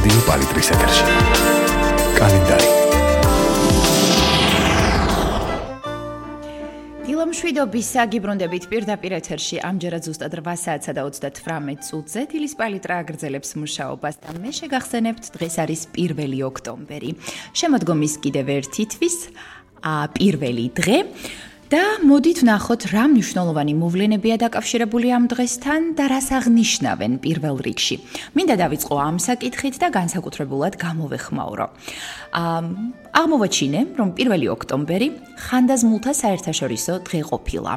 რადიო პალიტრის ეთერში. კალენდარი. დილამშვიდობის საგიბრუნდებით პირდაპირ ეთერში ამჯერად ზუსტად 8 საათსა და 38 წუთზე დილის პალიტრა აგრძელებს მუშაობას და მე შეგახსენებთ, დღეს არის 1 ოქტომბერი. შემოდგომის კიდევ ერთი თვის პირველი დღე. და მოდით ვნახოთ, რა მნიშვნელოვანი მოვლენებია დაკავშირებული ამ დღესთან და რას აღნიშნავენ პირველ რიგში. მინდა დავიწყო ამ საკითხით და განსაკუთრებულად გამოვეხმაურო. აღმოვაჩინე, რომ 1 ოქტომბერი ხანდაზმულთა საერთაშორისო დღე ყოფილა.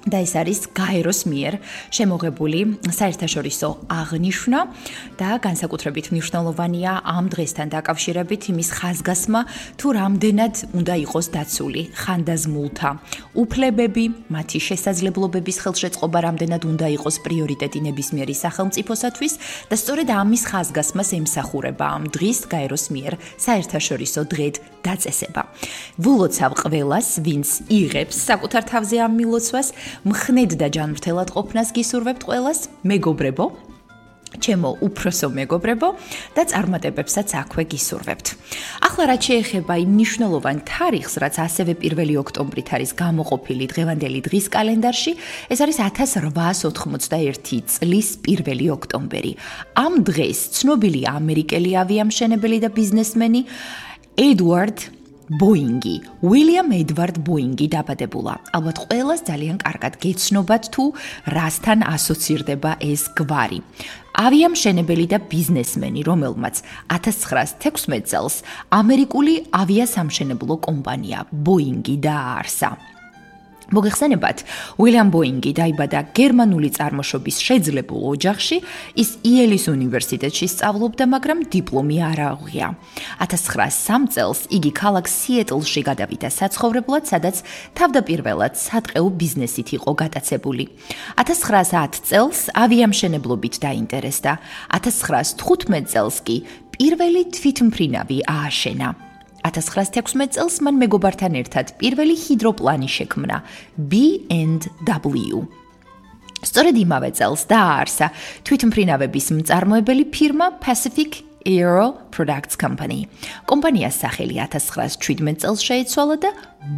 და ეს არის გაეროს მიერ შემოღებული საერთაშორისო აღნიშვნა და განსაკუთრებით მნიშვნელოვანია ამ დღესთან დაკავშირებით იმის ხაზგასმა, თუ რამდენად უნდა იყოს დაცული ხანდაზმულთა უფლებები, მათი შესაძლებლობების ხელშეწყობა რამდენად უნდა იყოს პრიორიტეტი ნებისმიერი სახელმწიფოსათვის და სწორედ ამის ხაზგასმას ემსახურება ამ დღის გაეროს მიერ საერთაშორისო დღედ დაწესება. ვულოცავ ყველას, ვინც იღებს საკუთარ თავზე ამ მილოცვას, მხნედ და ჯანმრთელად ყოფნას გისურვებთ ყველას, მეგობრებო, ჩემო უფროსო მეგობრებო და წარმატებებსაც აქვე გისურვებთ. ახლა რაც შეეხება იმ მნიშვნელოვან თარიღს, რაც ასევე 1 ოქტომბრით არის გამოყოფილი დღევანდელი დღის კალენდარში, ეს არის 1891 წლის 1 ოქტომბერი. ამ დღეს ცნობილი ამერიკელი ავიამშენებელი და ბიზნესმენი ედვარდ ბოინგი, უილიამ ედვარდ ბოინგი დაბადებულა. ალბათ ყველას ძალიან კარგად გეცნობათ თუ რასთან ასოცირდება ეს გვარი. ავიამშენებელი და ბიზნესმენი, რომელმაც 1916 წელს ამერიკული ავიასამშენებლო კომპანია ბოინგი დააარსა. მოგეხსენებათ, უილიამ ბოინგი დაიბადა გერმანული წარმოშობის შეძლებულ ოჯახში, ის იელის უნივერსიტეტში სწავლობდა, მაგრამ დიპლომი არ აუღია. 1903 წელს იგი ქალაქ სიეტლში გადავიდა საცხოვრებლად, სადაც თავდაპირველად სატყეო ბიზნესით იყო გატაცებული. 1910 წელს ავიამშენებლობით დაინტერესდა. 1915 წელს კი პირველი თვითმფრინავი ააშენა. 1916 წელს მან მეგობართან ერთად პირველი ჰიდროპლანი შექმნა B&W. სწორედ იმავე წელს დააარსა თვითმფრინავების მწარმოებელი ფირმა Pacific Aero Products Company. კომპანიას სახელი 1917 წელს შეიცვალა და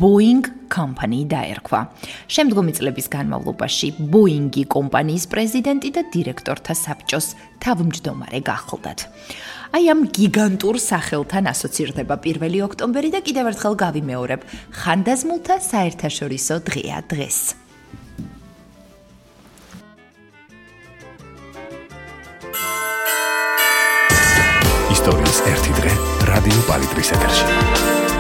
Boeing Company დაერქვა. შემდგომი წლების განმავლობაში Boeing-ი კომპანიის პრეზიდენტი და დირექტორთა საბჭოს თავმჯდომარე გახლდათ. აი ამ გიგანტურ სახელთან ასოცირდება 1 ოქტომბერი და კიდევ ერთხელ გავიმეორებ, ხანდაზმულთა საერთაშორისო დღეა დღეს. ისტორიის ერთი დღე რადიო პალიტრის ეთერში.